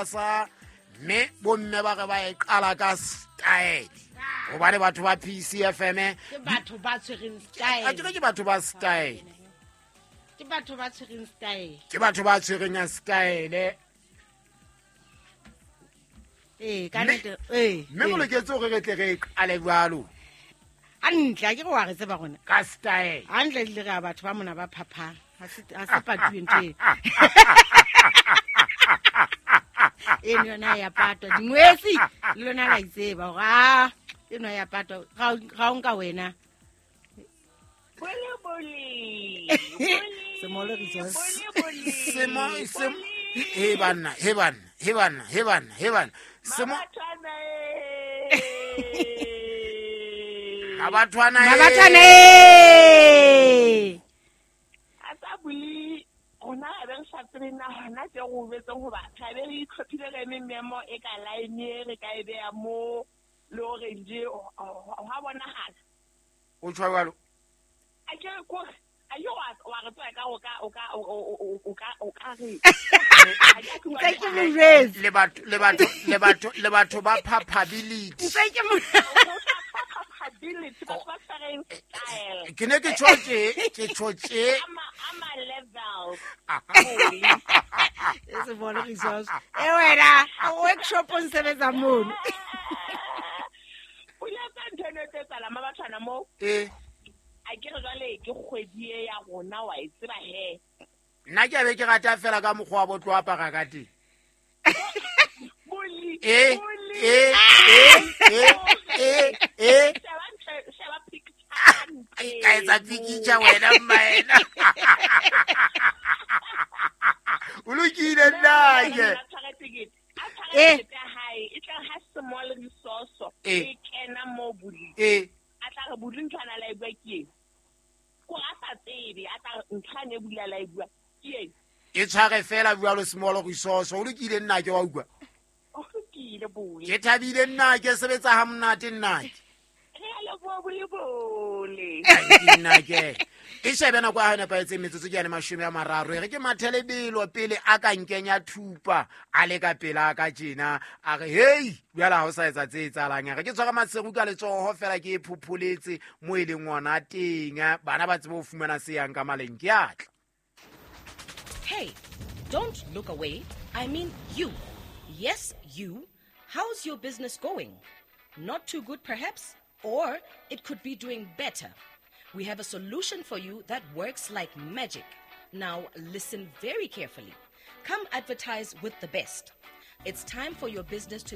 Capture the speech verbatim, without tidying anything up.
Sa mme bomme ba re ba e qala ka style gobane batho ba P C F M ke batho ba tshwereng style. A ke ke batho ba style. Ke batho ba tshwereng style. Ke batho ba tshwereng style. Eh, ka nnete, eh. Mme go loketse gore re tle re qale jwalo. Hantle, a ke re wa re tseba rona. Ka style. Hantle le re batho ba mona ba phaphang. Ha se ha se patuwe ntho e. Eno yona ya patwa dingwetsi le lona la itseba hore a eno ya patwa ga o nka wena. Bole bole. Semolo resource. Semo sem he banna he banna he banna he banna he banna. Semo Mabathwana Mabathwana. A tsa buli rona re re sa tsebe na hona tse go betseng hoba tlabe re itlhophile re memo e ka line re ka e beya mo le hore nje ha bonahala. O tshwa jwalo. A ke ko a yo wa wa re tswa ka o ka o ka o ka o ka re. Tse ke mo jwetse. Le batho le batho le batho le batho ba phapability. Tse ke mo phapability ba ba tshwereng style. Ke ne ke tshotse ke tshotse ama ama level. E se bone resource. E wena workshop o nsebetsa mono. O le tsa ntho eno tse tsala mabathwana mo. Eh. A ke re jwale ke kgwedi e ya rona wa e tseba he. Nna ke a be ke rata fela ka mokgwa wa botlo apara ka teng. Boli. Eh eh eh eh eh. Sheba picture. Ka etsa picture wena mmaena. O lokile nna ke. Eh. E tla ha small resource e kena mo boli. Eh. A tla re buli nthwana la e bua ke eng. Ko a sa tsebe a tla nthwane e bula la e bua ke eng. E tshware fela jwalo small resource o lokile nna ke wa utlwa. O lokile bole. Ke thabile nna ke sebetsa ha monate nna ke. Re a leboha bole bole. Nna ke. E shebe nako ya nepahetseng metsotso ke ya mashome a mararo. E re ke mathelebelo pele a ka nkenya thupa a le ka pela ka tjena a re hey jwale ha o sa etsa tse etsahalang. A re ke tshwara Maseru ka letsoho fela ke e phopholetse mo e leng ona teng bana ba tsebe ho fumana se yang ka maleng ke atla. Hey, don't look away. I mean you. Yes, you. How's your business going? Not too good perhaps, or it could be doing better. We have a solution for you that works like magic. Now listen very carefully. Come advertise with the best. It's time for your business to be